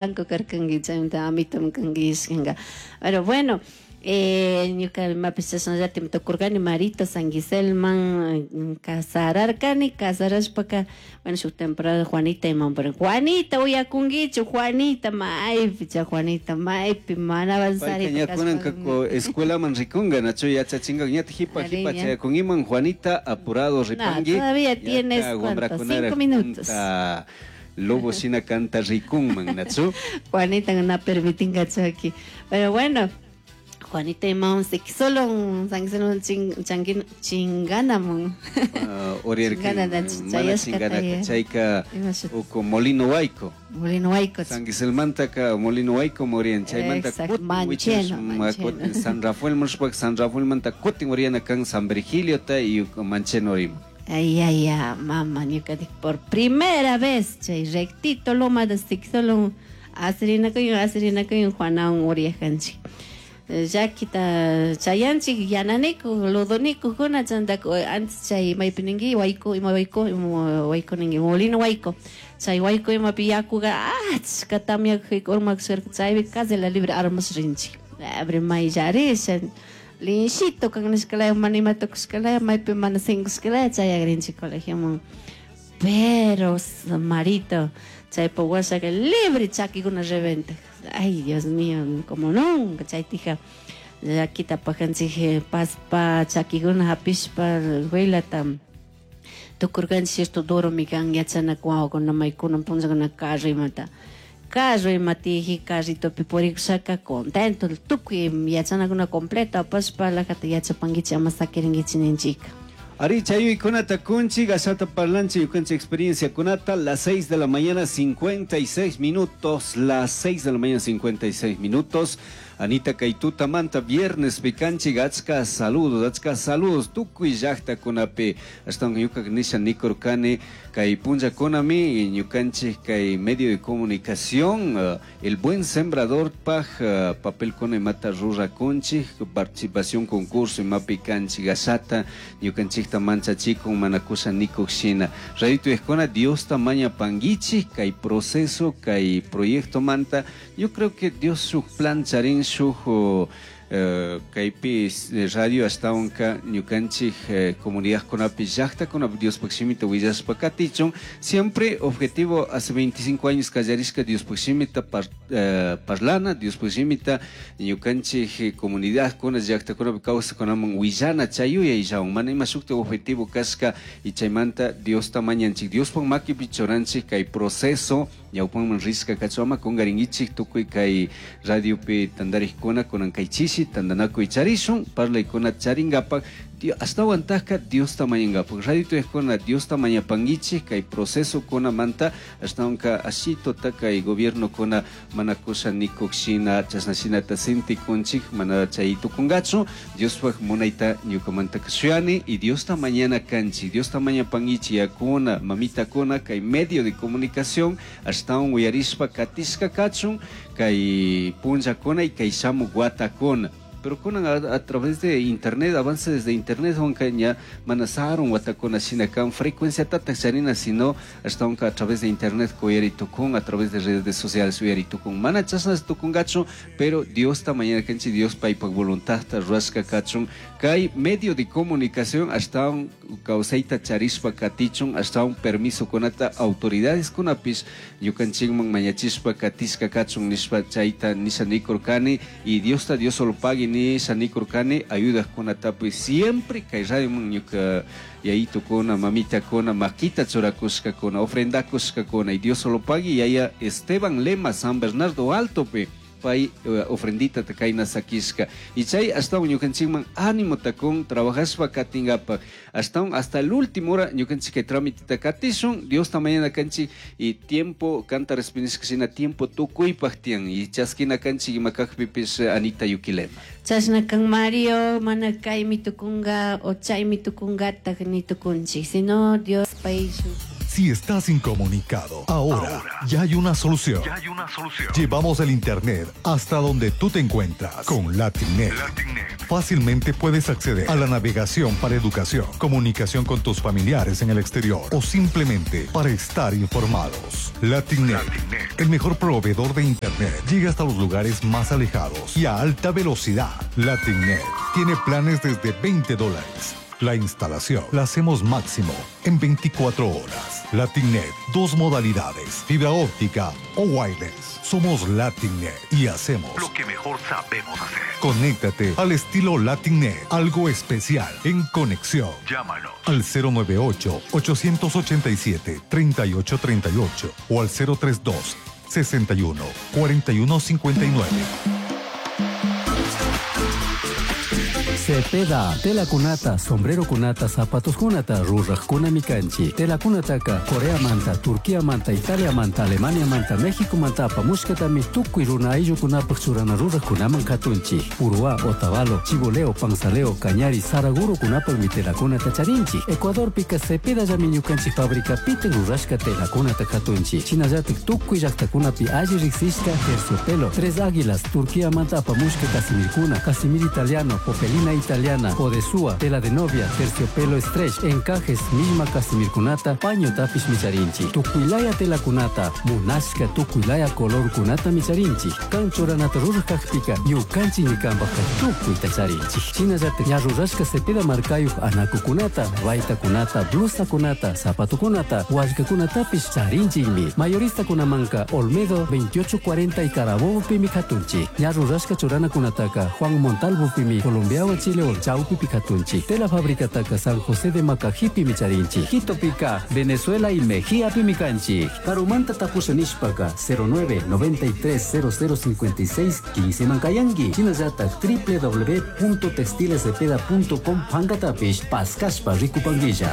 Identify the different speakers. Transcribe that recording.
Speaker 1: Blanco karkanki, chaymanta amitum kanki nishkanka. Pero bueno, ñuka imapish chashnallatik tukurkani Marito San Giselman casararkani, casarashpaka bueno shuk temporada Juanita iman pero Juanita uyakunkichu Juanita maypi chay Juanita maypi mana
Speaker 2: Payka ña
Speaker 1: avanzarita
Speaker 2: kunanka
Speaker 1: kashpa
Speaker 2: escuelaman rikunga nachu yachachinga ñata jipa
Speaker 1: Ari
Speaker 2: jipa
Speaker 1: ña.
Speaker 2: chayakunkiman Juanita apurado
Speaker 1: No,
Speaker 2: ripanki
Speaker 1: todavía tienes
Speaker 2: ñata
Speaker 1: cuánto,
Speaker 2: wambrakunaraj
Speaker 1: 5 minutos.
Speaker 2: punta lobo shina kanta rikunman nachu.
Speaker 1: Juanita no permitingachu aquí. Pero bueno, Juanita imawan solo San Giselman changin chinganamun.
Speaker 2: Oriarkan
Speaker 1: Chingana
Speaker 2: mana
Speaker 1: chayashkata
Speaker 2: chinganaka
Speaker 1: ya.
Speaker 2: chayka
Speaker 1: Ima shuti?
Speaker 2: uku Molino Huayco.
Speaker 1: Molino Huayco.
Speaker 2: San Giselmantaka Molino Huayco morian chaymanta
Speaker 1: Exacto,
Speaker 2: kutin
Speaker 1: Mancheno,
Speaker 2: wichash
Speaker 1: Mancheno.
Speaker 2: kutin San Rafael mushpak San Rafael manta kutin oriana kan San Virgilio ta y Mancheno rima.
Speaker 1: Ay, ay, ay, mamá, ñuka dije, por primera vez, chay rectito loma de Sixolón, asirinakuy, asirinakuy, Juanawan uriajanchik. Llakita chayanchik, yananiku, ludoniku, kuna chantaku, antes chay maypi ninki, wayku, ima wayku, ima wayku ninki, molino wayku. Chay wayku imapi yakuqa achka tamyakpi urmakusharka, chaypi casi la libre armas rinchik. Abre mayllarisha, linchito kan nishkalaya, mana ima tukushkalaya, maypi mana sinkushkalaya, chayagrinchik colegioman. Pero, Marito, chaypa wasaka libre chakikuna reventa. Ay, Dios mío, como nunca, chaytija. Llakita pajanchik paspa chakikuna hapishpa huilata. Tukurkanchik cierto duro mi kan yachana wawakuna maykuna punllakuna carro imata. Carro imatiji carritopi purikushaka contento tukuy yachanakuna completo apashpa lajata yachapankichik ama sakirinkichik ninchika.
Speaker 2: Ari chayuykunata kunchik ashata parlanchik ñukanchik experienciakunata las 6 de la mañana 56 minutos, las 6 de la mañana 56 minutos. Anita Kaituta manta viernes pikanchik achka saludos, achka saludos tukuy llaqtakunapi ashtawan ñuka nisha nikurkani kay punllakunami ñukanchik kay medio de comunicación el buen sembrador paj papelkuna imata rurakunchik participación concurso imapi kanchik ashata ñukanchikta manchachikun mana kusha nikuk shina raytu ejkuna Diosta mañapankichik kay proceso kay proyecto manta yo creo que Dios shuk plan charin shuk kaypi radio ashtawanka ñukanchik comunidadkunapi llaqtakunapi Diospaq shimita willashpa katichun siempre objetivo hace 25 años kallarishka Diospaq shimita parlana Diospaq shimita ñukanchik comunidadkuna llaqtakunapi kawsaqkunaman willana chay yuyayllawan mana ima shukta objetivo kashka y chaymanta Diosta mañanchik Diospaq makipi churanchik kay proceso ñawpanman rishka kachun ama kunkarinkichik tukuy kay radiopi tantarikkuna kunan kay chishi tantanakuy charishun parlaykuna charinkapak ashtawantajka Diosta mañankapak radio tuyajkuna Diosta mañapankichik kay procesokunamanta ashtawanka ashitota kay gobiernokuna mana kusha nikuk shina chashna shinata sentikunchik mana chay tukunkachu Diospaj munayta ñukamantaka shuyani y Diosta mañana kanchik Diosta mañapankichik yakuna mamitakuna kay medio de comunicación ashtawan uyarishpa katishka kachun kay punllakuna y kay shamuk watakuna. Pero kunan a través de internet, avance desde internet, aunque ña mana sarun watakuna shina kan frecuencia tatak charina, sino hasta aunque a través de internet uyari tukun, a través de redes sociales uyari tukun. Mana chasnas tukungachu, pero Dios ta mañana kanchi, Dios paypak voluntad ta ruashka kachun. Kay medio de comunicación hasta un kawsayta charishpa katichun, hasta un permiso kunata autoridades kunapish ñukanchikman mañachishpa katishka kachun nishpa chayta nisha nikurkani y Dios ta Dios solo pague ni shanikurkani ayudajkunatapish siempre kay radioman ñuka yayitukuna mamitakuna makita churakushkakuna ofrendakushkakuna y Dios solo pague yaya Esteban Lema San Bernardo Altopi pay ofrendita kayna sakishka y chay ashtawan ñukanchikman ánimo takun trabajashpa katinkapak ashtawan hasta el último hora ñukanchik kay tramitita katishun Diosta mañana kanchik y tiempo kanta respindishka shina tiempo tukuypak tiyan y chaskina kanchik ima kakpipish Anita Yuquilema.
Speaker 1: Chashna kan Mario mana kaymi tukunga o chaymi tukungatak ni tukunchik sino Dios pay shuk
Speaker 3: Si estás incomunicado, ahora, ya hay una solución.
Speaker 4: Ya hay una solución.
Speaker 3: Llevamos el Internet hasta donde tú te encuentras con LatinNet.
Speaker 4: LatinNet.
Speaker 3: Fácilmente puedes acceder a la navegación para educación, comunicación con tus familiares en el exterior o simplemente para estar informados. LatinNet,
Speaker 4: LatinNet.
Speaker 3: el mejor proveedor de Internet, llega hasta los lugares más alejados y a alta velocidad. LatinNet tiene planes desde 20 dólares. La instalación la hacemos máximo en 24 horas. LatinNet, dos modalidades, fibra óptica o wireless. Somos LatinNet y hacemos
Speaker 4: Lo que mejor sabemos hacer.
Speaker 3: Conéctate al estilo LatinNet, algo especial en conexión.
Speaker 4: Llámanos.
Speaker 3: Al 098-887-3838 o al 032 61 41 59.
Speaker 5: Cepeda, tela kunata, sombrero kunata, zapatos kunata, ruraj kunami kanchi. Tela kunataka, Corea manta, Turquía manta, Italia manta, Alemania manta, México manta, apamushkatami tukuy runa ayllukunapaj churana ruraj kunaman katunchi. Uruá, Otavalo, Chiboleo, Panzaleo, Cañari, Saraguro kunapajmi tela kunata charinchi. Ecuadorpika Cepeda llami ñukanchik fábrica piten rurashka tela kunata katunchi. Shinallatik tukuy llaktakunapi alli riksishka terciopelo, Tres Águilas, Turquía manta apamushka casimirkuna, casimir italiano, popelina italiana, odesúa, tela de novia, terciopelo stretch, encajes, misma casimirkunata, paño tapish micharinchi. Tukuylaya tela kunata, munashka tukuylaya color kunata micharinchi. Kan churanata ruraj kakpika, ñukanchik ñikanpajka tukuyta charinchik. Shinallatik ña rurashka cepeda markayuj anakukunata, baytakunata, blusakunata, zapatukunata, wallkakunatapish charinchikmi. Mayoristakunamanka Olmedo 2840 y Carabobo pimi katunchik. Ña rurashka churanakunataka Juan Montalvo pimi Colombiawan Chile Chaupi katunchik. Tela fabricataka San José de Macajipi micharinchik. Quito pica, Venezuela y Mejía pimi kanchik. Karumanta tapusha nishpaka 09 93 0056 15 mankayangi. Shinallatak www.textilescepeda.com pankatapish paskashpa rikupanguilla.